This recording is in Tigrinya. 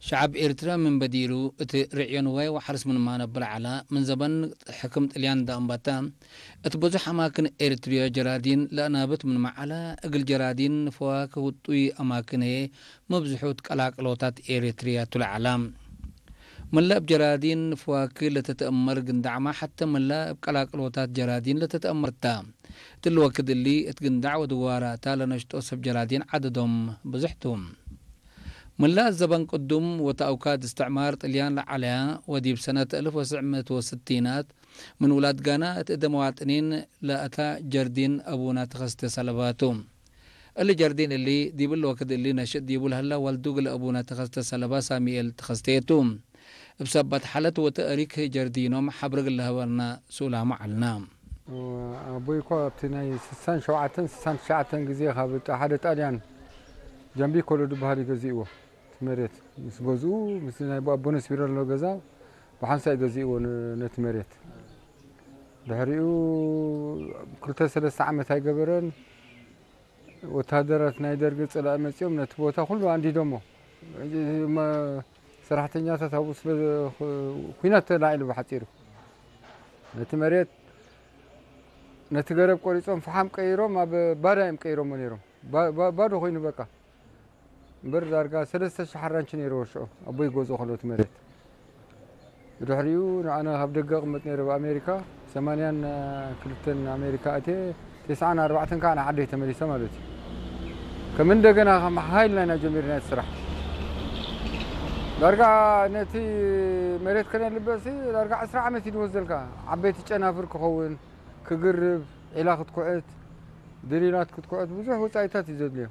ሸዓብ ኤርትራ ምን በዲሉ፣ እቲ ርዕዮ ንዋይ ወሓርስ ምን ማነ ብልዓላ፣ ምን ዘበን ሕክም ጥልያን ዳእምባታ፣ እቲ ብዙሕ ኣማክን ኤርትርዮ ጀራዲን ለእናብት ምን መዓላ፣ እግል ጀራዲን ፈዋክህ ውጡይ ኣማክን ህየ፣ መብዝሑት ቀላቅሎታት ኤርትርያ ቱለዓላ። ምላእ ብ ጀራዲን ፈዋክህ ለተተእመር ግንዳዕማ፣ ሓተ ምላእ ብ ቀላቅሎታት ጀራዲን ለተተእመርታ። እትሊ ወክድ እሊ እት ግንዳዕ ወድዋራታ ለነሽጦ ሰብ ጀራዲን ዓደዶም ብዙሕ ቱ። ምላእ ዘበን ቅዱም ወተአውካድ እስትዕማር ጥልያን ለዓለያ ወዲብ ሰነት እልፍ ወስዕ ምእት ወስቲናት ምን ውላድ ጋና እት እደ መዋጥኒን ለአታ ጀርዲን አቡና ተኸስተ ሰለባቱ። እሊ ጀርዲን እሊ ዲብል ወክድ እሊ ነሽጥ ዲቡ ለህላ ዋልዱ እግል አቡና ተኸስተ ሰለባ ሳሚኤል ተኸስቴቱ። እብ ሰባት ሓለት ወተእሪክ ጀርዲኖም ሓብር እግል ለሀበርና ሱላሙ ዐልና። ኣቦይ እኮ ኣብቲ ናይ ስሳን ሸውዓተን ስሳን ትሽዓተን ግዜ ካብ ጣ-፣ ሓደ ጣልያን ጃምቢኮሎ ዝበሃል እዩ ገዚእዎ። እቲ መሬት ምስ ገዝኡ፣ ምስ ናይ ኣቦነስ ቢሮ ዘሎ ገዛ ብሓንሳእ እዩ ገዚእዎ ን-፣ ነቲ መሬት። ድሕሪኡ ክልተ ሰለስተ ዓመት ኣይገበረን። ወተሃደራት ናይ ደርጊ ጽላኢ መጺኦም ነቲ ቦታ ኩሉ ኣንዲዶሞ። ሕጂ መ-፣ ሰራሕተኛታት ኣብኡ ስለ ዘ-፣ ኹ-፣ ኲናት ተላዒሉ ብሓጺሩ። ነቲ መሬት፣ ነቲ ገረብ ቆሪጾም ፈሓም ቀይሮም ኣብ ባዳ እዮም ቀይሮሞ ነይሮም። ባ-፣ ባ-፣ ባዶ ኮይኑ በቃ። እምበር ዳርጋ ሰለስተ ሽሕ ሓራንቺ ነይርዎ ሽዑ ኣቦይ ገዝኦ ከሎ እቲ መሬት። ብድሕሪኡ ንኣና ካብ ደገ እቕመጥ ነይረ ኣብ ኣሜሪካ፣ ሰማንያን ክልተን ኣሜሪካ ኣትየ፣ ተስዓን ኣርባዕተን ከዓ ንዓደይ ተመሊሰ ማለት እዩ። ከም እንደገና ከም ሓይልና ኢና ጀሚርና እቲ ስራሕ። ዳርጋ ነቲ መሬት ከነልብዕሲ ዳርጋ ዕስራ ዓመት እዩ ዝወስደልካ። ዓበይቲ ጨናፍር ክኸውን፣ ክግርብ፣ ዒላ ክትኩዕት፣ ድሪላት ክትኩዕት፣ ብዙሕ ወጻኢታት እዩ ዘድልዮ።